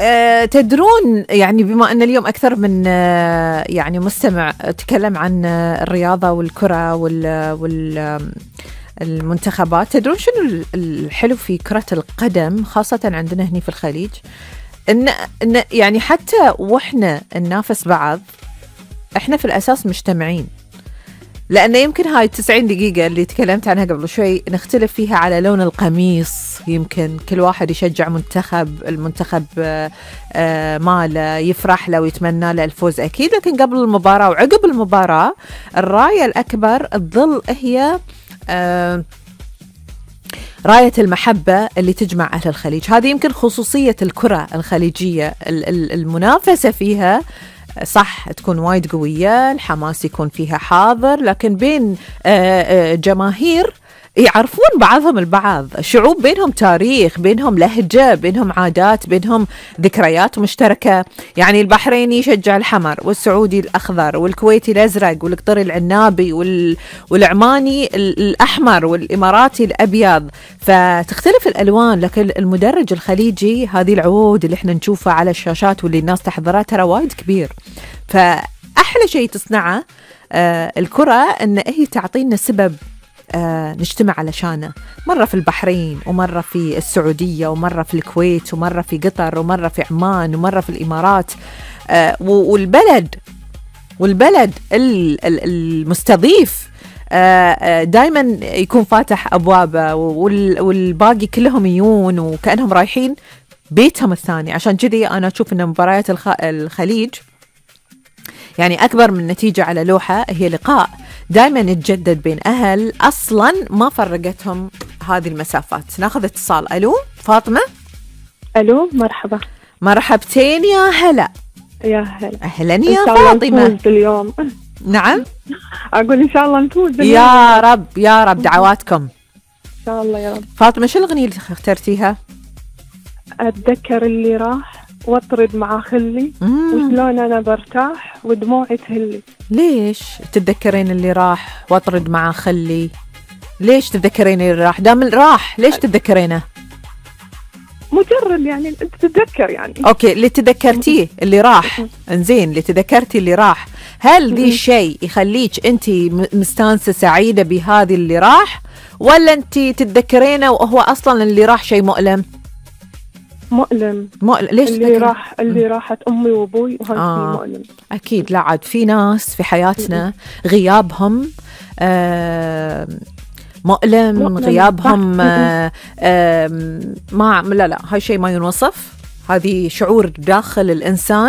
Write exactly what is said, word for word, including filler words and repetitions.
أه تدرون يعني بما أن اليوم أكثر من أه يعني مستمع تكلم عن الرياضة والكرة وال وال المنتخبات، تدرون شنو الحلو في كرة القدم خاصة عندنا هنا في الخليج؟ إن, إن يعني حتى وإحنا ننافس بعض إحنا في الأساس مجتمعين، لأن يمكن هاي التسعين دقيقة اللي تكلمت عنها قبل شوي نختلف فيها على لون القميص، يمكن كل واحد يشجع منتخب، المنتخب ماله يفرح له ويتمنى له الفوز أكيد، لكن قبل المباراة وعقب المباراة الراية الأكبر تظل هي آه راية المحبة اللي تجمع أهل الخليج. هذه يمكن خصوصية الكرة الخليجية، المنافسة فيها صح تكون وايد قوية، الحماس يكون فيها حاضر، لكن بين جماهير يعرفون بعضهم البعض، شعوب بينهم تاريخ، بينهم لهجة، بينهم عادات، بينهم ذكريات مشتركة. يعني البحريني يشجع الحمر، والسعودي الأخضر، والكويتي الأزرق، والقطري العنابي، والعماني الأحمر، والإماراتي الأبيض، فتختلف الألوان. لكن المدرج الخليجي هذه العود اللي احنا نشوفها على الشاشات واللي الناس تحضرها ترى وايد كبير. فأحلى شيء تصنعه آه الكرة أن هي تعطينا سبب آه نجتمع علشانه، مرة في البحرين، ومرة في السعودية، ومرة في الكويت، ومرة في قطر، ومرة في عمان، ومرة في الإمارات. آه والبلد والبلد المستضيف آه دايما يكون فاتح أبوابه، والباقي كلهم يجون وكأنهم رايحين بيتهم الثاني. عشان كذي أنا أشوف أن مباريات الخليج يعني أكبر من نتيجة على لوحة، هي لقاء دائما يتجدد بين أهل أصلا ما فرقتهم هذه المسافات. ناخذ اتصال. ألو فاطمة. ألو مرحبا. مرحبتين يا هلا. يا هلا. أهلا يا فاطمة. اليوم نعم أقول إن شاء الله نفوز يا رب يا رب، دعواتكم إن شاء الله يا رب. فاطمة شو الأغنية اللي اخترتيها؟ أتذكر اللي راح واطرد مع خلي، وشلون أنا برتاح ودموعي تهلي. ليش تتذكرين اللي راح واطرد مع خلي؟ ليش تتذكرين اللي راح؟ دام راح ليش تتذكرينه؟ مجرد يعني تتذكر يعني. أوكي اللي تذكرتيه اللي راح، إنزين اللي تذكرتي اللي راح، هل ذي الشيء يخليك أنتي مستانسة سعيدة بهذه اللي راح، ولا أنتي تتذكرينه وهو أصلا اللي راح شيء مؤلم؟ مؤلم. مؤلم. ليش اللي راح اللي راحت أمي وأبوي وهذا آه. مؤلم. أكيد. لا عاد في ناس في حياتنا غيابهم آه مؤلم, مؤلم. غيابهم آه آه ما لا لا هاي شيء ما ينوصف، هذه شعور داخل الإنسان